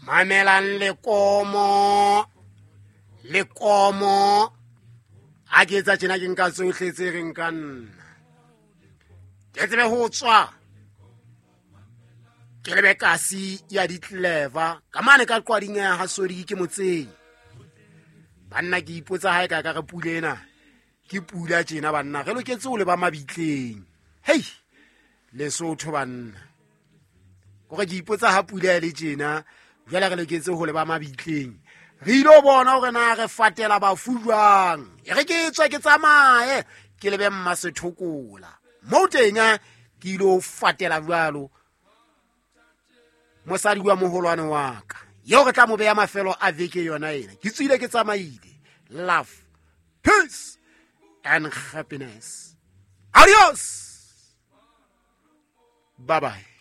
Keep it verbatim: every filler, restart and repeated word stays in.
Mamelang lekomo lekomo a ke etsa tjena ke nka tsohle tse reng ka nna ke tsebe ho tswa ke lebe kasi ya ditleva ka mane ka qwading ya ha sodi ke motseng. Banna ke ipotsa ha e ka ka re pula ena ke pula tjena banna re loketse ho leba mabitleng. Hei Lesotho banna kore ke ipotsa ha pula e le tjena jwale re loketse ho leba mabitleng re ilo bona hore na re fatela bafu jwang. E re ke tswe ke tsamaye ke lebe Mmasethokola moo teng ke ilo fatela jwalo mosadi wa moholwane wa ka eo re tla mo beya mafelo a veke yona ena. Ke tswile ke tsamaile. Love, peace and happiness. Adios, bye bye.